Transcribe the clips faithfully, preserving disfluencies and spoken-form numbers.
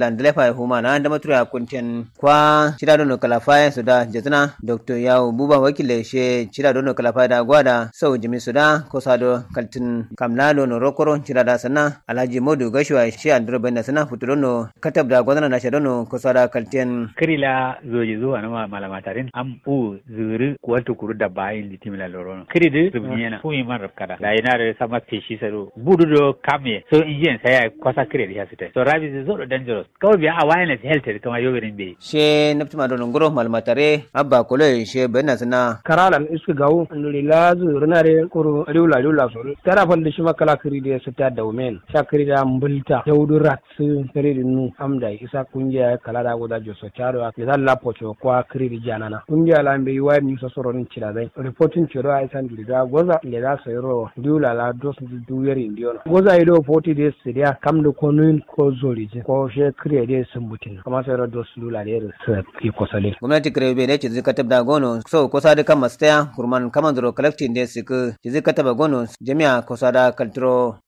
Landalefa ye huma na dama turo ya kunten kwa cida dono kalafaye so da jazna doktor yawo buba wakile she cida dono kalafaye da gwada sau jimi so da kosa do kaltin kamla dono rokoro cida da sana alhaji modu gashuwa she andiro baina sana futu dono katab da gwazana na sha dono kosa da kalten. Kiri la zoji zuwa na malamatarin am u zuru kuwaltu kuru dabba ayin litimila lorono kiri du rubniyana fumi man rabkada da ina da sama peshi sado budu do kamye so injiyan sai ya kwasa kiri da ya sita so rabi zai zoro dangerous kawai biya awareness health da kama yobirin bai. She naftuma do nunguro malmatare abba kolo she bayan suna. Karalan iska gawo nuri la zuru na re kuru riwla riwla soro tara fal da shi makala kiri da ya sita da women sha kiri da mbulta daudu rat su kiri da nu amda isa kungiya kala da goda joso charo ya zalla pocho kwa kiri da janana kungiya la mbe yuwa ni so soro ni chira zai reporting chiro ai san duri da goza le da so yoro diula la dos du yeri ndiona goza ido forty days sidia kam do konuin ko zori je ko she kiri da sumbutin kama so yoro dos lula da yeri su ki kosale. Gwamnati kire be ne ci zika tabda gono so kosa da kama staya kurman kama zoro collecting da siku ci zika taba gono jami'a kosa da kalturo.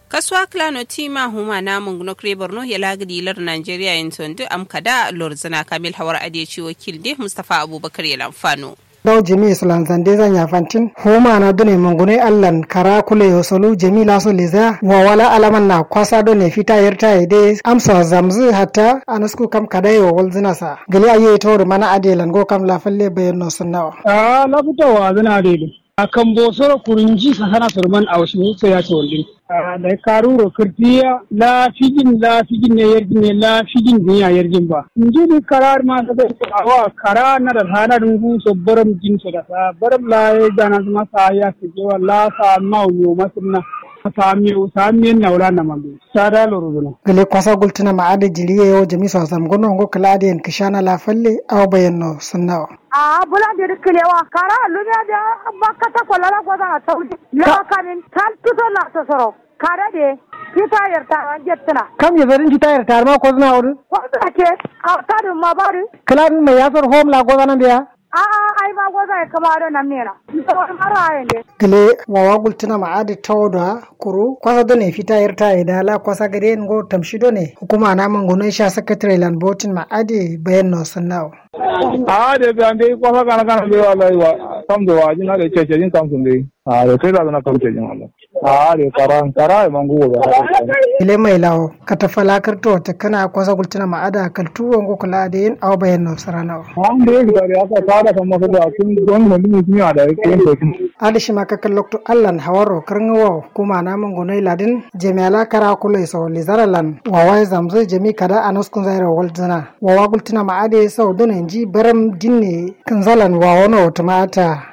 Kasuwa klano tima huma na munguno kre borno ya lagidi lar nigeria yin sondu am kada lor zana kamil hawar adiye ci wakil de mustapha abubakar ya lamfano. Dau jami islan zande zan ya fantin huma na dune mungune allan kara kule yo solu jami laso leza wa wala alaman na kwasa done fita yarta ya de amsa zamzu hatta anasku kam kada yo wal zina sa gali aye to mana adiye lango kam la falle bayan no sunnawa. A lafuta wa zina de. A kambo soro kurunji sasana surman aushi so ya ce wallin. A da karuro kirtiya la fijin la fijin ne yarjin ne la fijin ne ya yarjin ba. Nji di karar ma sa da awa kara na da hana dungu so baram jin so da sa baram la ya jana ma sa ya ke jewa la sa ma yo masunna. Sa mi sa mi na wala na mambe. Sa da loro zuna. Gale kwasa gultuna ma ada jiriye yo jami so sam gono ngo kala ada yan kishana la falle aw bayan no sunnawa. A bula de kile wa kara lunya de. Bakata ko lala goza a saudi la kamin tal tuso la sosoro. Kara de kita yarta an jettuna. Kam ya zarin kita yarta ma ko zuna wuri. Ko zuna ke a kadin ma bari. Kala din mai yasar home la goza nan biya. A a ai ma goza ya kama do nan mena. Ko mara ayen de. Kile wawa gultuna ma adi tawdo kuru kwasa do ne fita yarta ida la kwasa gade ngo tamshi do ne hukuma na mangono sha secretary land botin ma adi bayan no sunnawa. A de be ande kwasa kana kana be wallahi wa kam do wa jin ade cece jin kam sun be. A de kai da na kam cece jin wallahi. A de kara kara e mangu wa. Ile mai lawo kata fala karto ta kana kwasa gultuna ma ada kaltu wango kula da yin awa bayan no sarana. An de ga da aka fara kan masa da kun don mun mun ya da yin to. Ada shi ma kakan lokto allan hawaro karngawo kuma na mangono ladin jami'ala kara kulai so lizaralan wawa zamzai jami kada anaskun zaira walduna. Wawa gultuna ma ade sau duna nji baram dinne kanzalan wawono tumata.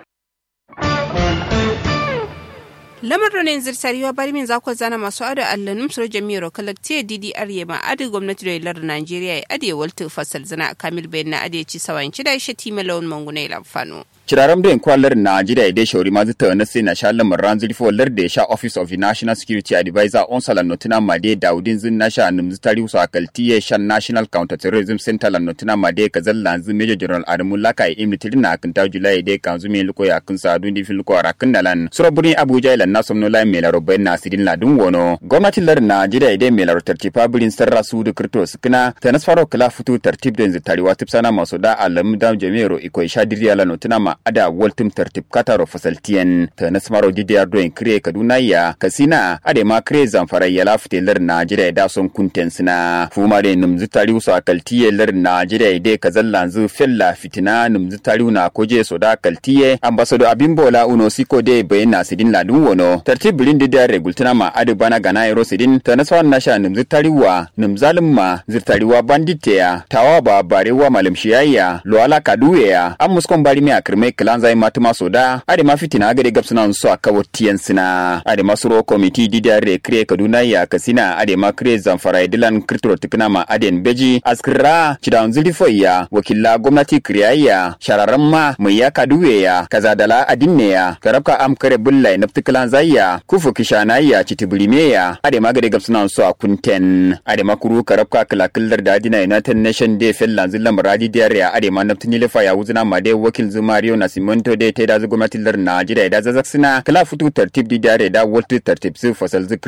Lamar do ne zirtariwa bari min zako zana masu ado allanum suro jami'aro kalaktiye didi arye ma adi gwamnati do lar nigeria ya adi waltu fasal zana kamil bayan na adi ci sawayin cida ishe time lawan manguna ila fano. Ciraram do yin kwa lar nigeria ya dai shauri ma zita na sai na sha lamar ran zuri fo lar da ya sha office of the national security advisor on salan notuna ma dai daudin zin na sha num zitari usu akaltiye shan national counter terrorism center lan notuna ma dai kazallan zin major general adamu laka ya imni tirin na akinta julai dai kanzu me luko ya kin sa'adu ndi fin luko arakin nalan suro birni abuja ilan na somno lai melaro bayan na sidin ladun wono gwamnati lar nigeria dai melaro tartifa birin sarra su da kirto sukuna tanas faro kala futu tartib da yanzu tariwa tip sana maso da alam da jami'aro iko isha diriya lano tuna ma ada waltum tartib kataro fasaltiyan tanas faro didiyar doyin kire kaduna ya kasina ade ma kire zamfara ya lafute lar nigeria da son kunten sina fuma da numzu tariu so akaltiye lar nigeria dai kazallanzu fella fitina numzu tariu na koje so da kaltiye ambasado abimbola uno siko de bayan na sidin ladun wono tartib birin dida regultuna ma adu bana gana ero sidin tanaswa nasha numzu tariwa numzalin ma zirtariwa banditeya tawa ba barewa malum shiyayya luwala kaduweya an muskon bari me akirmai kilanzai matuma so da ade ma fitina gade gabsuna so akawo tiyan sina ade ma suro komiti dida re kire kaduna ya kasina ade ma kire zamfara dilan kirturo tukuna ma aden beji askira cidan zuri foya wakilla gwamnati kiriyayya shararan ma mai ya kaduwe ya kaza dala adinne ya karabka am kare bulla ya nafti kilan zayya kufu kishana ya citi birime ya ade ma gade gabsuna so a kunten ade ma kuru karabka kila killar da adina united nation day fellan zillan muradi diyar ya ade ma nafti nilifa ya wuzuna ma dai wakil zumariyo Nasimonto dai taidazǝ gomnati lardǝ najeriya ye da zazaksǝna kǝla futu tartib dǝ dare da waltǝ tartib sǝ fasalzǝ.